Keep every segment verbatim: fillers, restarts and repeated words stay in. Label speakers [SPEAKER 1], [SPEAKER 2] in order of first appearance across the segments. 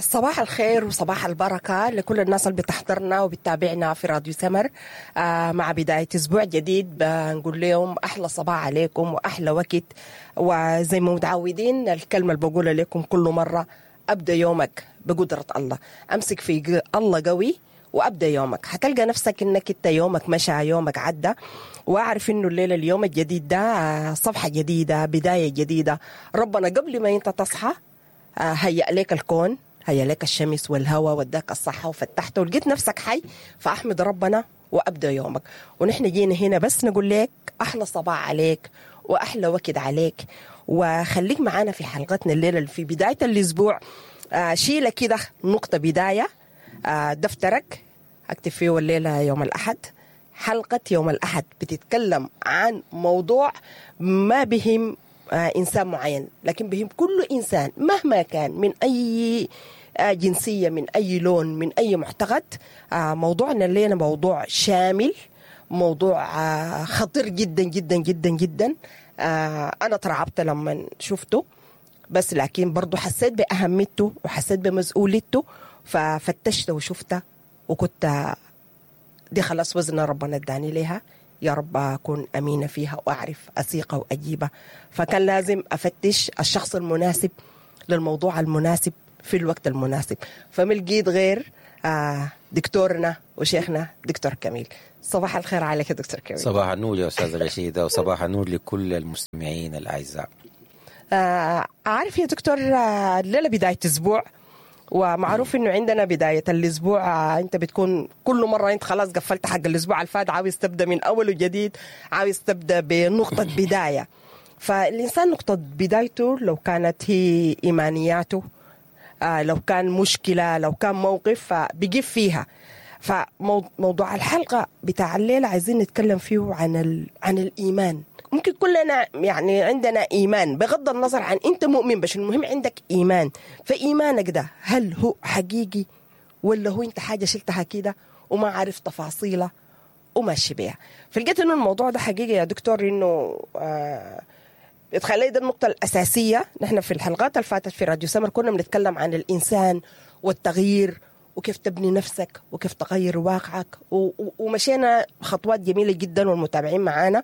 [SPEAKER 1] صباح الخير وصباح البركة لكل الناس اللي بتحضرنا وبتتابعنا في راديو سمر. آه مع بداية أسبوع جديد بنقول لهم أحلى صباح عليكم وأحلى وقت، وزي ما متعودين الكلمة اللي بقولها لكم كل مرة، أبدأ يومك بقدرة الله، أمسك في الله قوي وأبدأ يومك، هتلقى نفسك إنك إنت يومك مشى، يومك عدى. وأعرف إنه الليلة اليوم الجديد ده صفحة جديدة، بداية جديدة. ربنا قبل ما أنت تصحى هيأ لك الكون، هيأ لك الشمس والهواء وداك الصحة وفتحته ولقيت نفسك حي، فأحمد ربنا وأبدأ يومك. ونحن جينا هنا بس نقول لك أحلى صباح عليك وأحلى وقت عليك، وخليك معانا في حلقتنا الليلة اللي في بداية الأسبوع. شيلة كده نقطة بداية، دفترك اكتب فيه الليلة يوم الأحد. حلقة يوم الأحد بتتكلم عن موضوع ما بهم إنسان معين، لكن بهم كل إنسان مهما كان، من أي جنسية، من أي لون، من أي معتقد. موضوعنا الليلة موضوع شامل، موضوع خطير جدا جدا جدا جدا. أنا ترعبت لما شفته، بس لكن برضو حسيت بأهميته وحسيت بمسؤوليته، ففتشت وشفته وكنت دي خلاص وزن ربنا اداني ليها، يا رب أكون أمينة فيها وأعرف أسيقها وأجيبها. فكان لازم أفتش الشخص المناسب للموضوع المناسب في الوقت المناسب، فما لقيت غير دكتورنا وشيخنا دكتور كميل. صباح الخير عليك يا دكتور كميل.
[SPEAKER 2] صباح النور يا أستاذ رشيدة، وصباح النور لكل المستمعين الأعزاء.
[SPEAKER 1] آه عارف يا دكتور، الليلة بداية أسبوع، ومعروف انه عندنا بداية الاسبوع انت بتكون كل مرة انت خلاص قفلت حق الاسبوع الفات، عاوز تبدأ من اول وجديد، عاوز تبدأ بنقطة بداية. فالانسان نقطة بدايته لو كانت هي ايمانياته، لو كان مشكلة، لو كان موقف، فبيقف فيها. فموضوع الحلقة بتاع الليلة عايزين نتكلم فيه عن ال... عن الإيمان. ممكن كلنا يعني عندنا إيمان بغض النظر عن أنت مؤمن، بس المهم عندك إيمان. فإيمانك ده هل هو حقيقي ولا هو أنت حاجة شلتها كده وما عارف تفاصيلها وماشي بيها؟ فلقيت إنه الموضوع ده حقيقي يا دكتور، إنه آه تخلي ده النقطة الأساسية. نحن في الحلقات اللي فاتت في راديو سمر كنا بنتكلم عن الإنسان والتغيير وكيف تبني نفسك وكيف تغير واقعك، ومشينا خطوات جميلة جدا والمتابعين معانا.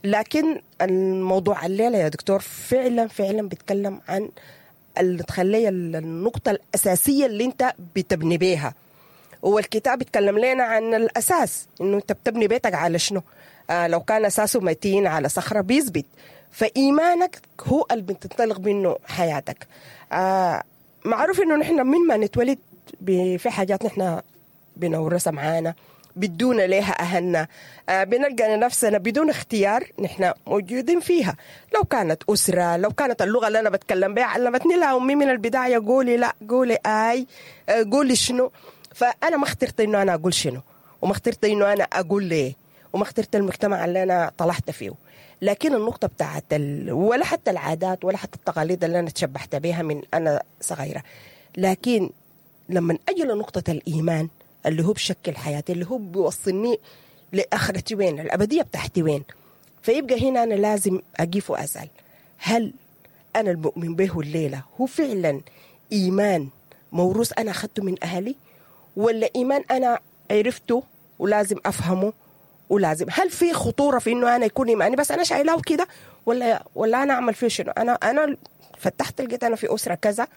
[SPEAKER 1] لكن الموضوع الليلة يا دكتور فعلا فعلا بيتكلم عن اللي تخلي النقطة الأساسية اللي انت بتبني بيها. والكتاب بيتكلم لنا عن الأساس، انه انت بتبني بيتك على شنو؟ آه لو كان أساسه متين على صخرة بيثبت. فإيمانك هو اللي بتنطلق منه حياتك. آه معروف انه نحن من ما نتولد في حاجات نحن بنورثها معانا، بدون ليها أهلنا، آه بنلقى نفسنا بدون اختيار نحن موجودين فيها. لو كانت أسرة، لو كانت اللغة اللي أنا بتكلم بها علمتني لها أمي من البداية، قولي لا، قولي آي، آه قولي شنو. فأنا ما اخترت إنه أنا أقول شنو، وما اخترت إنه أنا أقول ليه، وما اخترت المجتمع اللي أنا طلعت فيه. لكن النقطة بتاعت ال... ولا حتى العادات ولا حتى التقاليد اللي أنا تشبحت بها من أنا صغيرة. لكن لما أجي لنقطة الإيمان اللي هو بشكل حياتي، اللي هو بيوصلني لآخرتي وين، الأبدية بتاعتي وين، فيبقى هنا أنا لازم أقف وأسأل، هل أنا المؤمن به الليلة هو فعلا إيمان موروث أنا أخذته من أهلي، ولا إيمان أنا عرفته ولازم أفهمه ولازم؟ هل في خطورة في إنه أنا يكون إيماني بس أنا شايلاه كده، ولا ولا أنا أعمل فيه شنو؟ أنا أنا فتحت لقيت أنا في أسرة كذا،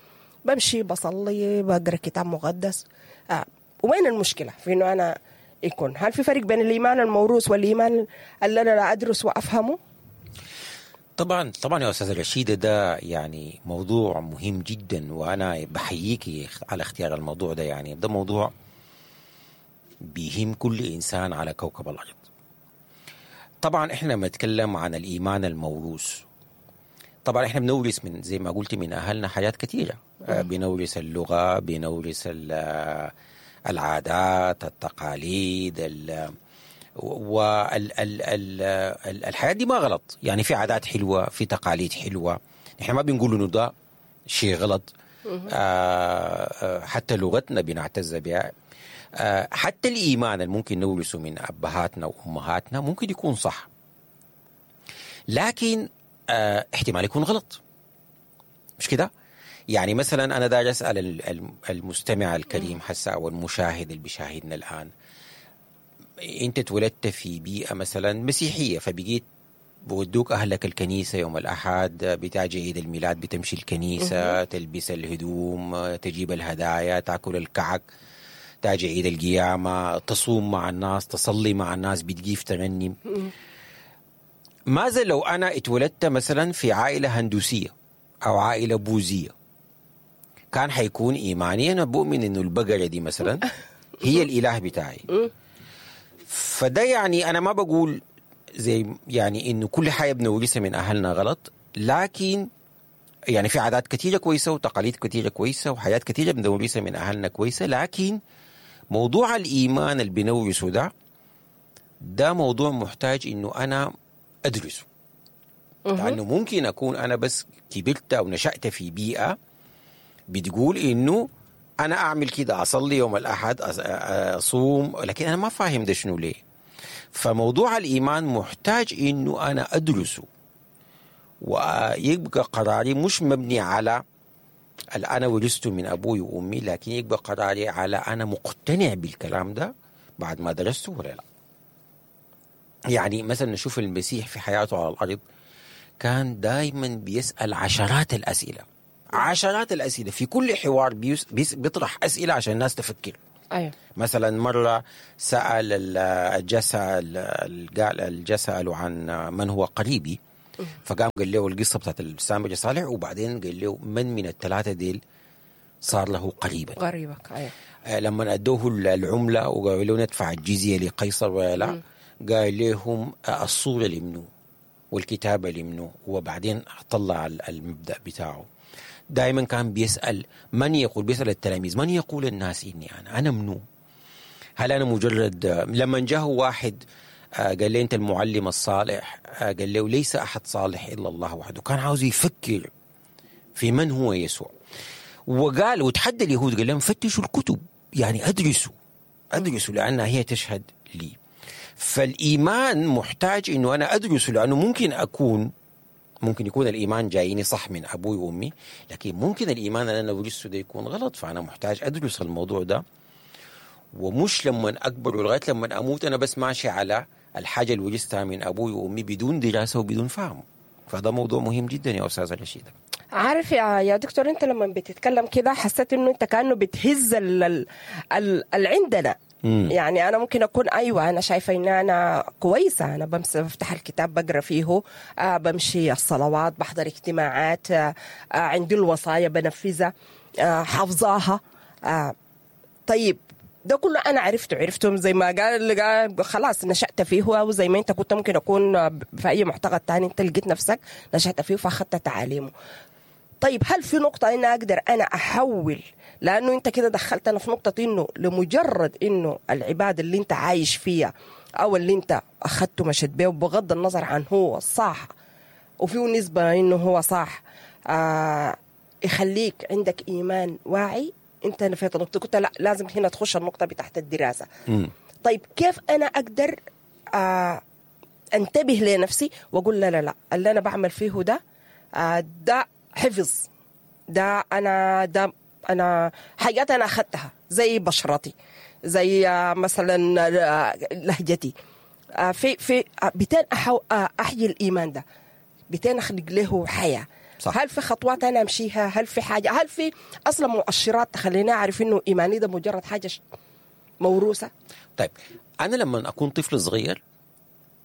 [SPEAKER 1] بمشي بصلي بقرأ كتاب مقدس، آه. وين المشكلة في إنه أنا يكون؟ هل في فرق بين الإيمان الموروث والإيمان اللي أنا لا أدرس وأفهمه؟
[SPEAKER 2] طبعا طبعا يا أستاذة رشيدة، ده يعني موضوع مهم جدا، وأنا بحييكي على اختيار الموضوع ده. يعني ده موضوع بيهم كل إنسان على كوكب الأرض. طبعا إحنا بنتكلم عن الإيمان الموروث. طبعا احنا بنورث من زي ما قلت من اهلنا حاجات كثيرة، بنورث اللغة، بنورث العادات، التقاليد، ال والحياة دي ما غلط. يعني في عادات حلوة، في تقاليد حلوة، نحن ما بنقول انه ده شيء غلط. آه حتى لغتنا بنعتز بها. آه حتى الايمان اللي ممكن نورثه من ابهاتنا وامهاتنا ممكن يكون صح، لكن آه احتمال يكون غلط، مش كده؟ يعني مثلا أنا داير أسأل ال- ال- المستمع الكريم حسا أو المشاهد اللي بيشاهدنا الآن، أنت اتولدت في بيئة مثلا مسيحية، فبقيت بودوك أهلك الكنيسة يوم الأحد، بتاجي عيد الميلاد بتمشي الكنيسة، تلبس الهدوم، تجيب الهدايا، تاكل الكعك، تاجي عيد القيامة، تصوم مع الناس، تصلي مع الناس، بتجيف تغني. ماذا لو أنا اتولدت مثلا في عائلة هندوسية أو عائلة بوذية؟ كان حيكون إيماني أنا بؤمن إنه البقرة دي مثلا هي الإله بتاعي. فده يعني أنا ما بقول زي يعني إنه كل حاجة بنورثها من أهلنا غلط، لكن يعني في عادات كثيرة كويسة وتقاليد كثيرة كويسة وحاجات كثيرة بنورثها من أهلنا كويسة، لكن موضوع الإيمان اللي بنورثه ده ده موضوع محتاج إنه أنا أدرسه. لأنه ممكن أكون أنا بس كبرت أو نشأت في بيئة بتقول إنه أنا أعمل كده، أصلي يوم الأحد، أصوم، لكن أنا ما فاهم ده شنو ليه. فموضوع الإيمان محتاج إنه أنا أدرسه، ويبقى قراري مش مبني على اللي أنا ورثته من أبوي وأمي، لكن يبقى قراري على أنا مقتنع بالكلام ده بعد ما درسته ولا لا. يعني مثلا نشوف المسيح في حياته على الأرض كان دايما بيسأل عشرات الأسئلة، عشرات الأسئلة في كل حوار بيس بيس بيطرح أسئلة عشان الناس تفكر.
[SPEAKER 1] أيوة.
[SPEAKER 2] مثلا مرة سأل الجسأل الجسأل عن من هو قريبي، فقام قال له القصة بتاعت السامري صالح، وبعدين قال له من من الثلاثة ديل صار له قريبا.
[SPEAKER 1] قريبك. أيوة.
[SPEAKER 2] لما أدوه العملة وقالوا له ندفع الجزية لقيصر ولا لا، قال لهم الصورة لمنو والكتابة لمنو، وبعدين طلع المبدأ بتاعه. دائما كان بيسأل من يقول، بيسأل التلاميذ من يقول الناس إني أنا، أنا منو؟ هل أنا مجرد؟ لما جاءه واحد قال له أنت المعلم الصالح، قال له ليس أحد صالح إلا الله وحده. كان عاوز يفكر في من هو يسوع، وقال وتحدى اليهود قال لهم فتشوا الكتب، يعني أدرسوا أدرسوا لأنها هي تشهد لي. فالإيمان محتاج إنه أنا أدرسه، لأنه ممكن أكون ممكن يكون الإيمان جايني صح من أبوي وأمي، لكن ممكن الإيمان اللي أنا ورثته ده يكون غلط. فأنا محتاج أدرس الموضوع ده، ومش لما أكبر ولغاية لما أموت أنا بس ماشي على الحاجة اللي ورثتها من أبوي وأمي بدون دراسة وبدون فهم. فهذا موضوع مهم جدا يا أستاذة رشيدة.
[SPEAKER 1] عارف يا يا دكتور، أنت لما بتتكلم كده حسيت إنه أنت كأنه بتهز ال ال ال عندنا.
[SPEAKER 2] مم.
[SPEAKER 1] يعني أنا ممكن أكون أيوة أنا شايفة إن أنا كويسة، أنا بمس بفتح الكتاب بقرأ فيه، آه بمشي الصلوات، بحضر اجتماعات، آه عندي الوصايا بنفذها، آه حافظاها، آه طيب ده كله أنا عرفته عرفتهم زي ما قال, قال خلاص نشأت فيه، وزي ما أنت كنت ممكن أكون في أي معتقد تاني أنت لقيت نفسك نشأت فيه فأخذت تعاليمه. طيب هل في نقطة إن أقدر أنا أحول؟ لأنه أنت كده دخلتنا في نقطة إنه لمجرد إنه العبادة اللي أنت عايش فيها أو اللي أنت أخذته مشيت بيه بغض النظر عن هو صح وفيه نسبة إنه هو صح، آه يخليك عندك إيمان واعي. أنت نفيت النقطة، كنت لا لازم هنا تخش النقطة بتاعت الدراسة.
[SPEAKER 2] م.
[SPEAKER 1] طيب كيف أنا أقدر آه أنتبه لنفسي وأقول لا لا لا اللي أنا بعمل فيه ده آه ده حفظ، ده أنا ده أنا حاجات أنا أخذتها زي بشرتي، زي مثلا لهجتي، في في بتين أحو أحيي الإيمان ده، بتين أخلق له حياة.
[SPEAKER 2] صح.
[SPEAKER 1] هل في خطوات أنا أمشيها؟ هل في حاجة؟ هل في أصلا مؤشرات تخليني أعرف إنه إيماني ده مجرد حاجة موروثة؟
[SPEAKER 2] طيب أنا لما أكون طفل صغير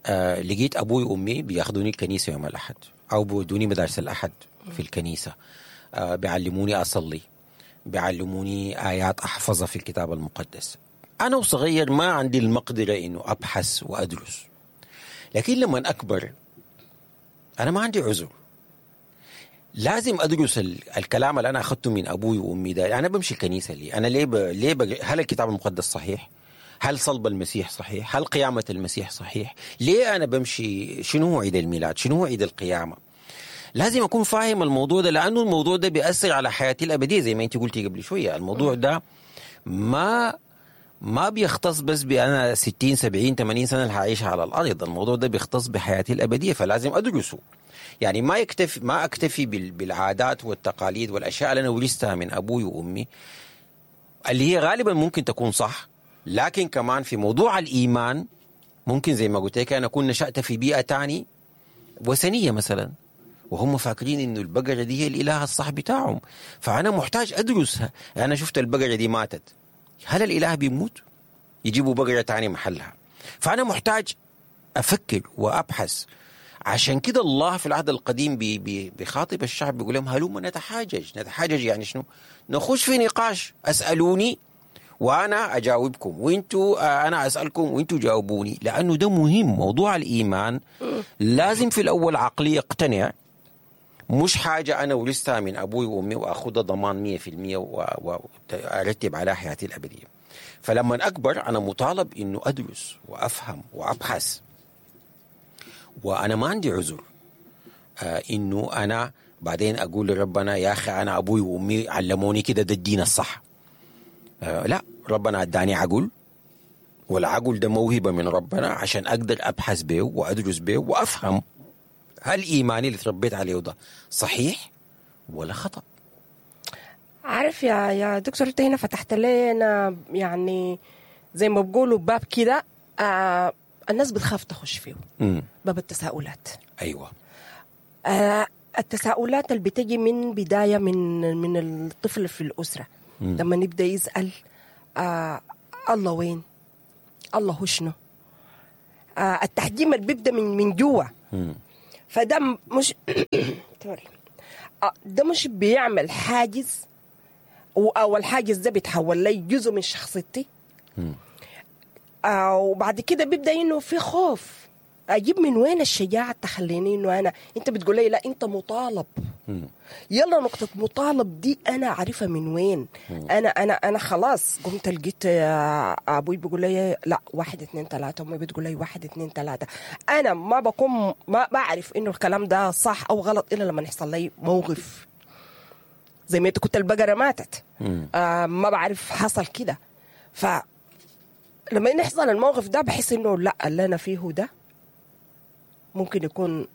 [SPEAKER 2] آه لقيت أبوي وأمي بياخدوني الكنيسة يوم الأحد أو بيودوني مدارس الأحد في الكنيسة، آه بيعلموني أصلي، بيعلموني آيات أحفظها في الكتاب المقدس. أنا وصغير ما عندي المقدرة إنه أبحث وأدرس، لكن لما أكبر أنا ما عندي عذر، لازم أدرس الكلام اللي أنا أخذته من أبوي وأمي ده. أنا بمشي الكنيسة ليه؟ أنا ليه ب... ليه ب... هل الكتاب المقدس صحيح؟ هل صلب المسيح صحيح؟ هل قيامة المسيح صحيح؟ ليه أنا بمشي؟ شنو هو عيد الميلاد؟ شنو هو عيد القيامة؟ لازم أكون فاهم الموضوع ده، لأنه الموضوع ده بيأثر على حياتي الأبدية زي ما أنت قلتي قبل شوية. الموضوع ده ما ما بيختص بس بأنا ستين سبعين ثمانين سنة اللي هعيشها على الأرض، الموضوع ده بيختص بحياتي الأبدية، فلازم أدرسه. يعني ما يكتفي ما أكتفي بالعادات والتقاليد والأشياء اللي أنا ورثتها من أبوي وأمي، اللي هي غالبا ممكن تكون صح، لكن كمان في موضوع الإيمان ممكن زي ما قلت لك أنا أكون نشأت في بيئة تاني وثنية مثلا، وهم فاكرين إنه البقرة دي هي الإله الصح بتاعهم، فأنا محتاج أدرسها. أنا شفت البقرة دي ماتت، هل الإله بيموت؟ يجيبوا بقرة تاني محلها. فأنا محتاج أفكر وأبحث. عشان كده الله في العهد القديم بي بي بيخاطب الشعب بيقول لهم هلما نتحاجج. نتحاجج يعني شنو؟ نخش في نقاش، أسألوني وأنا أجاوبكم، وإنتوا أنا أسألكم وإنتوا جاوبوني، لأنه ده مهم. موضوع الإيمان لازم في الأول عقلي يقتنع، مش حاجة أنا ورثتها من أبوي وأمي وأخذها ضمان مية في المية وأرتب على حياتي الأبدية. فلما أكبر أنا مطالب إنه أدرس وأفهم وأبحث، وأنا ما عندي عذر آه إنه أنا بعدين أقول لربنا يا أخي أنا أبوي وأمي علموني كده، ده الدين الصح. آه لا، ربنا أداني عقل، والعقل ده موهبة من ربنا عشان أقدر أبحث به وأدرس به وأفهم هل إيماني اللي تربيت عليه ده صحيح ولا خطأ.
[SPEAKER 1] عارف يا يا دكتور، انت هنا فتحت لنا يعني زي ما بقولوا باب كده آه الناس بتخاف تخش فيه.
[SPEAKER 2] مم.
[SPEAKER 1] باب التساؤلات.
[SPEAKER 2] أيوة.
[SPEAKER 1] آه التساؤلات اللي بتجي من بداية من من الطفل في الأسرة.
[SPEAKER 2] مم.
[SPEAKER 1] لما نبدأ يسأل آه الله وين؟ الله هو شنو؟ آه التحجيم اللي بيبدأ من من جوا. فده مش ده مش بيعمل حاجز، او الحاجز ده بيتحول لي جزء من شخصيتي. آه وبعد كده بيبدا انه في خوف، اجيب من وين الشجاعة تخليني انه انا، انت بتقول لي لا انت مطالب.
[SPEAKER 2] مم.
[SPEAKER 1] يلا نقطة مطالب دي انا عارفه من وين.
[SPEAKER 2] مم.
[SPEAKER 1] انا انا انا خلاص قمت لقيت ابوي بيقول لي لا واحد اتنين تلاتة، امي بتقول لي واحد اتنين تلاتة. انا ما بكون ما بعرف انه الكلام ده صح او غلط الا لما يحصل لي موقف زي ما انت كنت البقرة ماتت. آه ما بعرف حصل كده. ف لما يحصل الموقف ده بحس انه لا اللي انا فيه ده ممكن يكون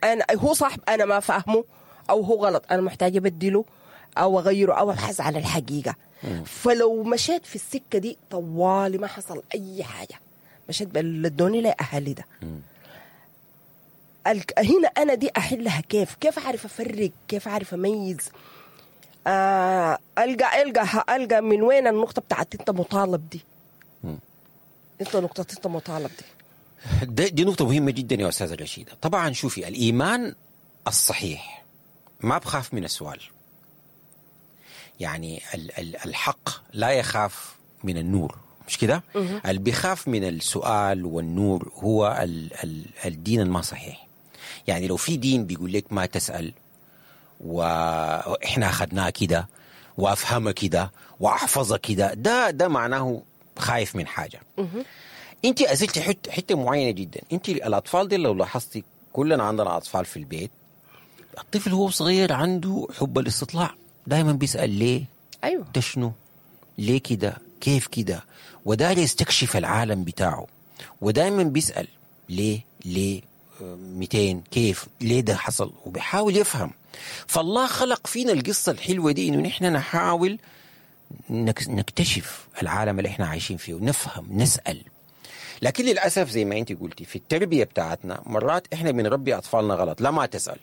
[SPEAKER 1] انا هو صح انا ما فاهمه، او هو غلط انا محتاجه ابدله او اغيره او ابحث عن الحقيقة.
[SPEAKER 2] مم.
[SPEAKER 1] فلو مشيت في السكة دي طوالي ما حصل اي حاجة، مشيت بلدوني لاهلي ده.
[SPEAKER 2] مم.
[SPEAKER 1] هنا انا دي احلها كيف؟ كيف اعرف افرق؟ كيف اعرف اميز؟ آه القى القى القى من وين النقطة بتاعت انت مطالب دي؟
[SPEAKER 2] مم.
[SPEAKER 1] انت نقطة انت مطالب دي
[SPEAKER 2] دي, دي نقطة مهمة جدا يا أستاذة رشيدة. طبعا شوفي، الإيمان الصحيح ما بخاف من السؤال. يعني الحق لا يخاف من النور، مش كده؟ اللي بيخاف من السؤال والنور هو ال ال الدين الما صحيح. يعني لو في دين بيقول لك ما تسأل وإحنا أخذناه كده وأفهمه كده وأحفظه كده، ده ده معناه خايف من حاجة. انت اسئلتي حتة حتة معينة جدا. انت الاطفال دي لو لاحظتي، كلنا عندنا اطفال في البيت، الطفل هو صغير عنده حب الاستطلاع، دائما بيسال ليه؟
[SPEAKER 1] ايوه،
[SPEAKER 2] ده شنو؟ ليه كده؟ كيف كده؟ وداير يستكشف العالم بتاعه، ودائما بيسال ليه؟ ليه؟ مئتين كيف؟ ليه ده حصل؟ وبيحاول يفهم. فالله خلق فينا القصة الحلوة دي انه نحن نحاول نكتشف العالم اللي احنا عايشين فيه ونفهم، نسال. لكن للأسف زي ما أنت قلتي في التربية بتاعتنا مرات إحنا بنربي أطفالنا غلط. لا ما تسأل.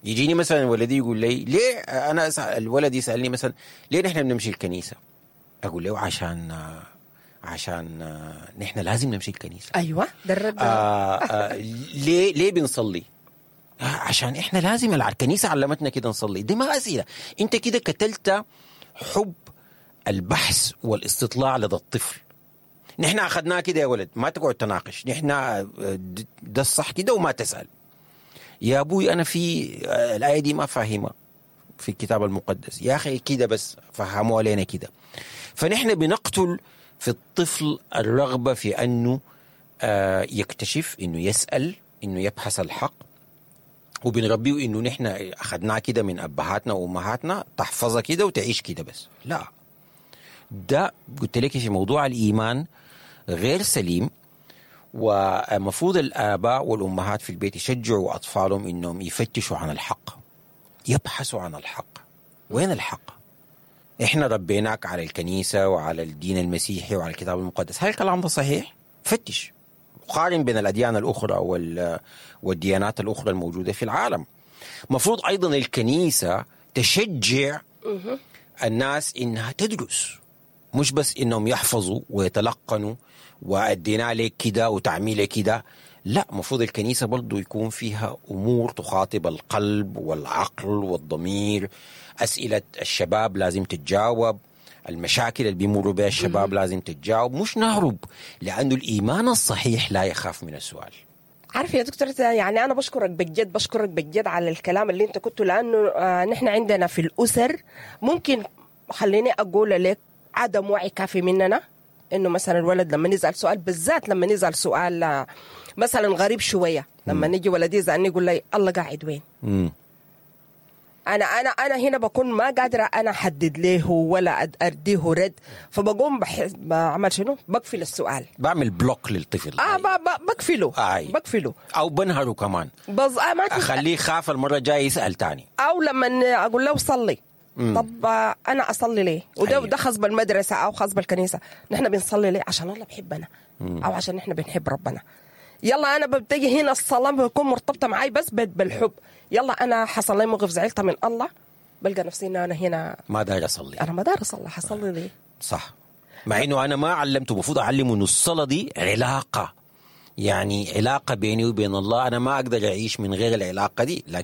[SPEAKER 2] يجيني مثلا ولدي يقول لي ليه أنا أسأل، الولد يسألني مثلا ليه نحن بنمشي الكنيسة؟ أقول له عشان عشان نحن لازم نمشي الكنيسة.
[SPEAKER 1] أيوة ده الرد.
[SPEAKER 2] آه آه ليه ليه بنصلي؟ آه عشان إحنا لازم، الكنيسة علمتنا كده نصلي. دي ما أسئلة. أنت كده قتلت حب البحث والاستطلاع لدى الطفل. نحن أخذناه كده يا ولد، ما تقعد تناقش، نحن ده الصح كده وما تسأل. يا أبوي أنا في الآية دي ما فاهمة في الكتاب المقدس، يا أخي كده بس فهموها لنا كده. فنحن بنقتل في الطفل الرغبة في أنه يكتشف، أنه يسأل، أنه يبحث الحق، وبنربيه أنه نحن أخذناه كده من أبهاتنا وأمهاتنا، تحفظها كده وتعيش كده بس. لا، ده قلت لك في موضوع الايمان غير سليم، ومفروض الاباء والامهات في البيت يشجعوا اطفالهم انهم يفتشوا عن الحق، يبحثوا عن الحق. وين الحق؟ احنا ربيناك على الكنيسة وعلى الدين المسيحي وعلى الكتاب المقدس، هل الكلام ده صحيح؟ فتش، قارن بين الاديان الاخرى وال... والديانات الاخرى الموجودة في العالم. مفروض ايضا الكنيسة تشجع الناس انها تدرس، مش بس انهم يحفظوا ويتلقنوا وادينا لك كده وتعميل كده، لا، مفروض الكنيسة برضو يكون فيها امور تخاطب القلب والعقل والضمير. اسئلة الشباب لازم تتجاوب، المشاكل اللي بيمروا بها الشباب لازم تتجاوب، مش نهرب، لانه الايمان الصحيح لا يخاف من السؤال.
[SPEAKER 1] عارف يا دكتور، يعني أنا بشكرك بجد، بشكرك بجد على الكلام اللي أنت كنته، لأنه آه نحن عندنا في الأسر ممكن، خليني أقول لك، عدم وعي كافي مننا، إنه مثلا الولد لما يسأل سؤال، بالذات لما يسأل سؤال آه، مثلا غريب شوية، لما نيجي ولدي يسألني يقول لي الله قاعد وين؟
[SPEAKER 2] مم.
[SPEAKER 1] انا انا انا هنا بكون ما قادرة انا احدد له ولا أد- اديه رد، فبقوم بح... بعمل شنو؟ بقفل السؤال.
[SPEAKER 2] بعمل block للطفل.
[SPEAKER 1] اه ب... ب... بقفله.
[SPEAKER 2] آي.
[SPEAKER 1] بقفله.
[SPEAKER 2] او بنهره كمان.
[SPEAKER 1] بز... آه ما تس...
[SPEAKER 2] اخليه يخاف المرة الجاية يسال تاني.
[SPEAKER 1] او لما اقول له صلي، طب آه، انا اصلي ليه؟ وده
[SPEAKER 2] أيوة.
[SPEAKER 1] ده خاص بالمدرسة او خاص بالكنيسة، نحن بنصلي ليه؟ عشان الله بحبنا او عشان نحن بنحب ربنا. يلا انا ببتدي هنا الصلاة بتكون مرتبطة معي بس بال- بالحب. يلا انا حصل لي موقف زعلت من الله، بلقى نفسي ان انا هنا
[SPEAKER 2] ما داير اصلي.
[SPEAKER 1] انا ما داير اصلي، حصلي ليه؟
[SPEAKER 2] صح، مع انه انا ما علمته، المفروض اعلمه انه الصلاة دي علاقة، يعني علاقة بيني وبين الله، انا ما اقدر اعيش من غير العلاقة دي، لكن